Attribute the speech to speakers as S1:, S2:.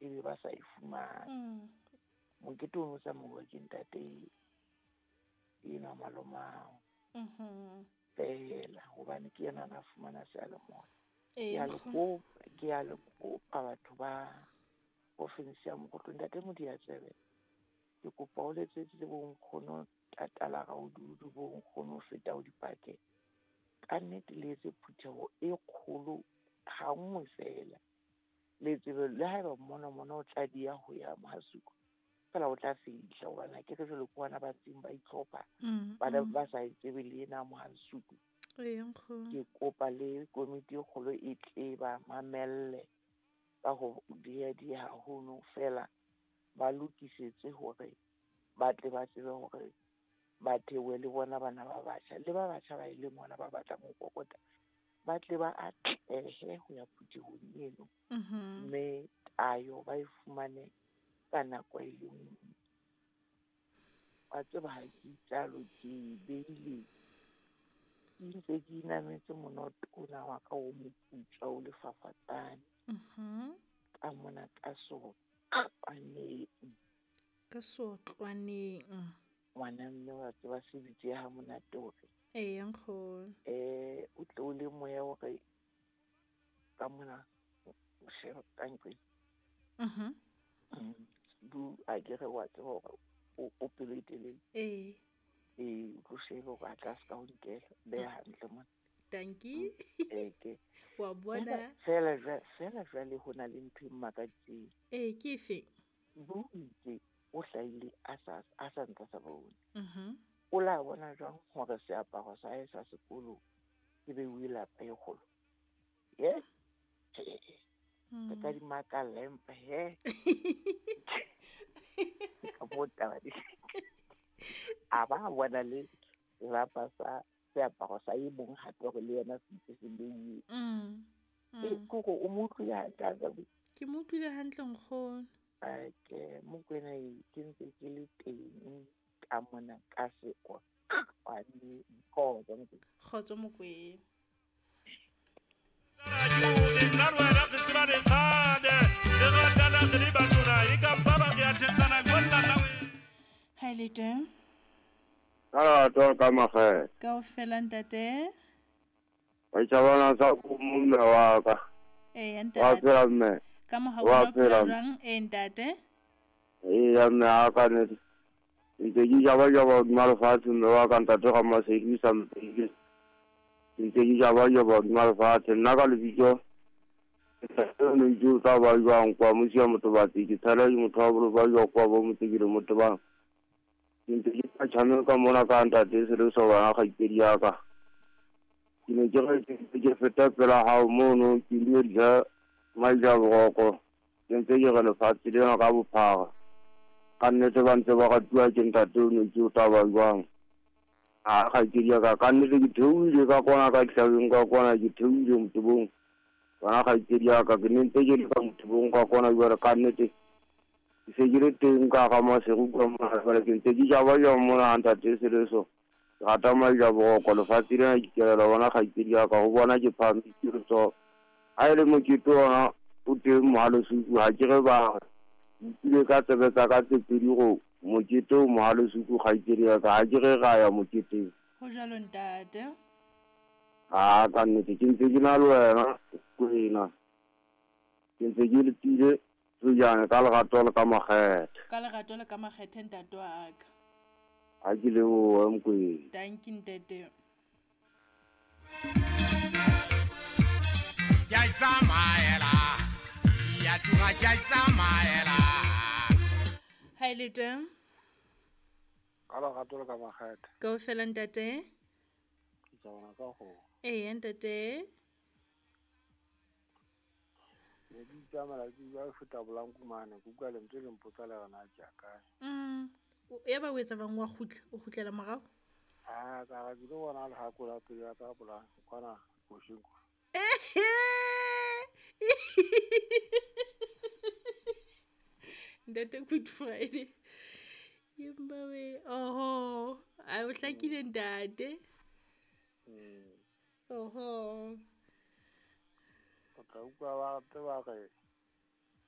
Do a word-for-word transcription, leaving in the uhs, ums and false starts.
S1: ebe ba sa e fumane.
S2: Mm.
S1: Mokete o no tsamauwa ke ntate enwa malomao.
S2: Mhm.
S1: Fela hobane ke yena a na fumana seyalemoya.
S2: Ee,
S1: Ke a le
S2: nkgono.
S1: kopa, ke a le kopa batho ba province ya Mokhotlong. Ntate Modianyewe, ke kopa o letsetse le bo nkgono Tatala Raududu, bo nkgono feta ho dipakeng. Ka nnete le etse phutheho e kgolo ha nngwe fela. Le tsebe le haeba mona mona o tla diya ho ya Mohasuku, fela o tla fihla hobane ha ke re jwale ke bona ba ntseng ba itlhopha,
S2: Mm,
S1: ba
S2: mm.
S1: ba sa e tsebe le ena Mohasuku.
S2: Ee, nkgono.
S1: Ke kopa le komiti e kgolo e tle ba mamelle ka ho diya-diya haholo fela ba lokisetse hore ba tle ba tsebe hore ba theohe le bona bana ba batjha le ba batjha ba e leng hona ba batlang ho kokota, ba tle ba atlehe ho ya phuthehong eno.
S2: Mhm.
S1: Mme tayo ba e fumane ka nako e le nngwe. Wa tseba ha ke itsalo ke beile, ke ntse ke inametse monoto ona wa ka o moputswa o lefafatsane.
S2: Mhm.
S1: Ka mona ka sotlwaneng.
S2: Ka sotlwaneng.
S1: Ngwana mme wa tseba se bitse ha monate hore.
S2: Ee, nkgono.
S1: Eh, o tle o le moya hore ka mona o shebe ka nqeng.
S2: Mhm.
S1: Mm. Bu a ke re wa tseba hore o, o pelo e telele.
S2: Ee.
S1: Ee, o tlo shebe hore a tla se ka o nkela, beha hantle mona.
S2: Dankie.
S1: Ee, ke.
S2: Wa bona.
S1: Fela jwa-, fela jwale ho na le ntho e mmakaditseng.
S2: Ee, ke efe?
S1: Bu itse o hlahile a sa, a sa ntse a sa bone.
S2: Mhm.
S1: O la bona jwang hore seaparo sa hae sa sekolo ke beuwe lapa e kgolo? Ye? Ke ka di makalla empa he. Ka mo taba di. A ba bona le lapa sa seaparo sa e mong hape hore le yena se ntse se beuwe.
S2: Mm.
S1: E,
S2: Mm.
S1: ke hore o mo utlwile hantle ha sa bue?
S2: Ke mo utlwile hantle nkgono.
S1: Ai, ke Mokoena e, ke ntse ke le teng ka mona ka seotlwaneng. Kgotso, Mokoena.
S2: Kgotso, Mokoena. Ha e le teng?
S3: Ka lerato ka makgethe.
S2: Kaofela ntate.
S3: Wa itjhabana sa ko mme wa ka.
S2: Ee,
S3: Wa
S2: ntate.
S3: phela mme.
S2: Ka mohau
S3: Wa
S2: wa phela
S3: phela.
S2: jwang? Ee, ntate.
S3: Ee, mme a ka nnete. Ntse ke jaba-jaba hodima lefatshe mme wa ka ntate Ramasedi sa mpehile. Ntse ke jaba-jaba hodima lefatshe. Nna ka lebitso, ntate o ne ntse o tla ba jwang kwa Mosia Motobatsi, ke tshela ke motho wa boloka jwa kwa bo motse ke le Motobang. Ke ntse ke tla tshameka mona ka ntate Seleso bana kgaitsedi ya ka. Ke ne ke re ke ntse ke feta pela hao mono, ke dumedisa Maija Boroko. Ke ntse ke re lefatshe lena ka bophara. Ka nnete ba ntse ba ratuwa ke ntate o ne ke o tla ba jwang. A kgaitsedi ya ka, ka nnete ke theohile ka kwana ka dihlabeng ka kwana, ke theohile motebong. Bana kgaitsedi ya ka, ke ne ntse ke le ka motebong ka kwana jwale ka nnete. Ke se ke le teng ka hara Maseru ka mona jwale, ke ntse ke jaba-jaba mona ha ntate Seleso. Ke rata Maija Boroko, lefatshe lena ke kelela bona kgaitsedi ya ka, ho bona ke phahamisitse letsoho. Ha e le mokete ona o teng Mohalesuku, ha ke re ba utlwile ka tsebe tsa ka tse pedi go mokete o Mohalesuku kgaitsedi ya ka, ha ke re ra ya moketeng.
S2: Ho jwalo ntate.
S3: Ha, ka nnete ke ntse ke na le wena Kwena. Ke ntse ke letile tsojane ka lerato le ka makgethe.
S2: Ka lerato le ka makgethe ntate wa ka.
S3: Ha ke lebohe Mokwena.
S2: Dankie ntate.
S4: Ke a itsamaela, ya tloha ke a itsamaela.
S2: Ha e le teng?
S5: Ka lerato le ka makgethe.
S2: Kaofela ntate?
S5: Ke tsamaya ka kgomo.
S2: Ee, ntate.
S5: Ne ke itsamaela ke utlwa ke feta Bolanku mane, ke utlwa lentswe le mpotsa le re na ke ya kae.
S2: Mm. O, ya ba o etsa bang wa kgutla, o kgutlela morao?
S5: Ah, ka re ke lo bona lehako la pelo ya ka Bolanku, kwana Bosheng kwa.
S2: Ntate Good Friday. Empa we, oho, a o hlakile ntate.
S5: Mm.
S2: Oho.
S5: O tla utlwa ba te ba re